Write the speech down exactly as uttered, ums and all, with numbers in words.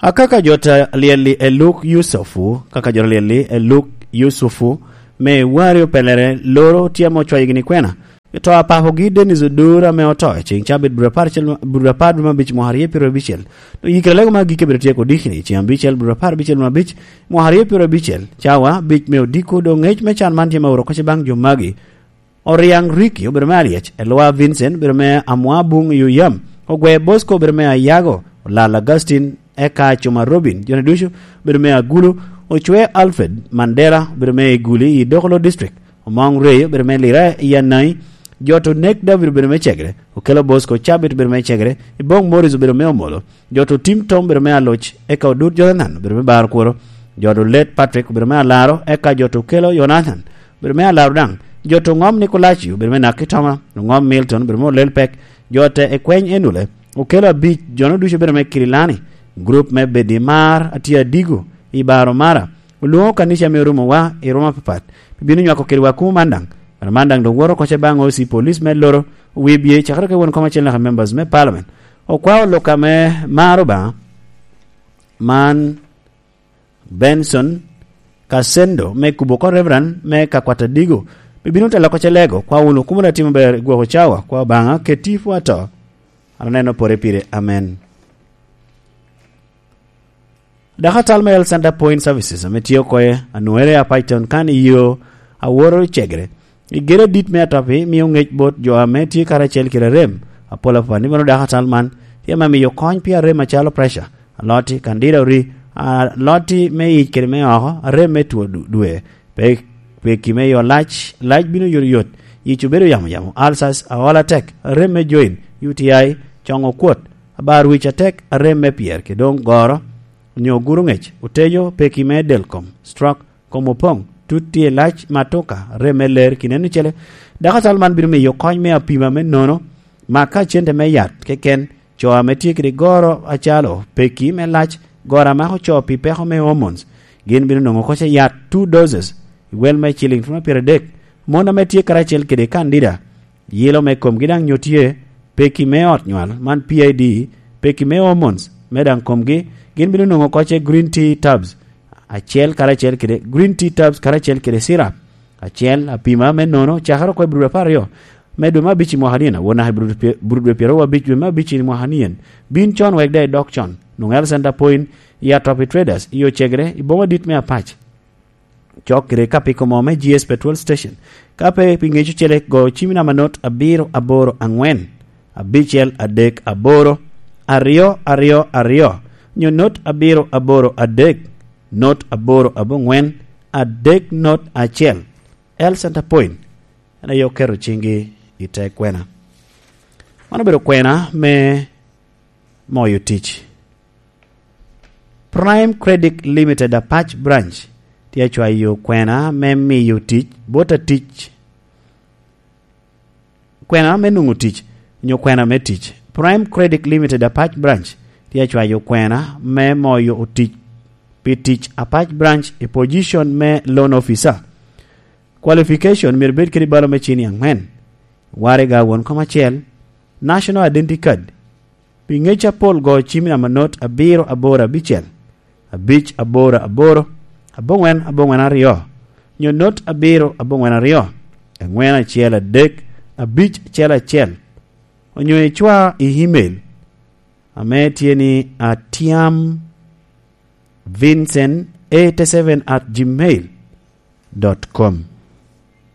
Akaka jo ta lyel-li e luk Yucufu, kaka jo ta lyel-li e luk Yucufu, me wari opelere loro tye ame ocwayogi ni kwena. To apapogi Dennis Odur ame oto i ceŋ cabit, bur apar acel, bur apar dwe me abic mwaka aryo pyero abicel. Doŋ yikere lego me agikki bino tyeko odikni i ceŋ abicel, bur apar abicel dwe me abic mwaka aryo pyero abicel, cawa abic me odiko. Doŋ ŋec me can man tye me oro kocce baŋ jo magi. Oriaŋ Ricky obedo me Aryec, Elwa Vincent obedo me Amwabuŋ i Oyam, Ogwe Bosco obedo me Ayago, Olal Augustine, eka Cuma Robin, jone ducu obedo me Agulu, Ocwe Alfred Mandela obedo me Iguli i Dokolo District, Omoŋ Rey obedo me Lira i Anai, Joto Nek David obedo me Cegre, Okelo Bosco Cabit obedo me Cegre, Iboŋ Morris obedo me Omolo, Joto Tim Tom obedo me Aloc, eka Odut Jonathan obedo me Bar Kworo, Joto Let Patrick obedo me Alaro, eka Joto Okelo Jonathan obedo me Alaro daŋ, Joto Ŋom Nikolaci obedo me Nakitoma, Ŋom Milton obedo me Olel Pek, Jote Ekweny Enule, Okelo Abic, jono ducu obedo me Kirilani, gurup me Bedi Mar atye adigo i Baro Mara, olwoŋo kanica me orumowa i ruma apapat, pi bino nywako kedwa kumo man daŋ. Kare man daŋ doŋ woto kocce baŋ O C police me Loro, wie bye, cakere ka won kom acel naka members me parliament. Okwao lok ame maro Obaŋa man, Benson Kasendo me kubo oko Reverend me ka kwat adigo, pi bino telo kocce lego, kwa wunu kumo da timo ber i gwoko cawa, kwa Obaŋa keti pwo ato. An aneno pore pire. Amen. Dakatal me Health Center Point Services ame tye oko i Anwere, Apac Town kan i yo a woto Cegre, i gedo adit me Atopi mio ŋec bot jo ame tye karacel kede arem apol apol. Ni mano dakatal man tye ame miyo kony pi arem macalo pressure, aloti, candida ori, aloti me yic kede me oko, arem me two du-, dwe, pe-, peki me yo lac, lac bino yotoyot, yic obedo yamo yamo, ulcers, aol atek, arem me joint, U T I, coŋo kwot, abar wic atek, arem me pyer, kede doŋ goro, onyo guro ŋec, otejo, peki me del kom, stroke, kom opoŋ, tut tye lac, matuka, rem me ler, kineno cele. Dakatal man bino miyo kony me apima me nono, ma ka cente me yat keken, co ame tye kede goro acalo peki me lac, goro a mako co pi peko me hormones, gin bino nwoŋo kocce yat two doses, i wel me ciliŋ twen apyeradek. Mon ame tye karacel kede candida, yilo me komgi daŋ nyo tye, peki me ot nywal, man P I D, peki me hormones, me daŋ komgi, gin bino nwoŋo kocce green tea tabs acel karacel kede, green tea tabs karacel kede syrup acel, apima me nono, cakere oko i bur apar aryo me dwe me abic i mwaka nino, awor naka i bur dwe pye-, bur dwe pyeraryo abic dwe me abic i mwaka nien. Bin con wek daŋ idok con. Nwoŋo Health Center Point i Atopi Traders, i Ocegre, i boma dit me Apac. Cok kede kapiko mo me G S Petrol Station. Ka pe pi ŋeco cele, go cim i namba not abiro aboro aŋwen, abicel adek aboro, aryo aryo aryo, nyo not abiro aboro adek, not aboro aboŋwen, adek not acel. Health Center Point, en aye oketo ciŋgi i te kwena. Man obedo kwena me moyo tic. Prime Credit Limited Apac Branch tye acwayo kwena me miyo tic bot atic, kwena me nwoŋo tic, nyo kwena me tic. Prime Credit Limited Apac Branch tye acwayo kwena me moyo otic pi tic Apac Branch i position me loan officer. Qualification myero bed kede balo me cini aŋwen, waraga won kom acel, National Identity Card, pi ŋec apol go cim i namba not abiro aboro abicel, abic aboro aboro, aboŋwen aboŋwen aryo, nyo not abiro aboŋwen aryo, aŋwen acel adek, abic acel acel, onyo icwa i email ame tye ni Atiam Vincent eighty seven at gmail dot com.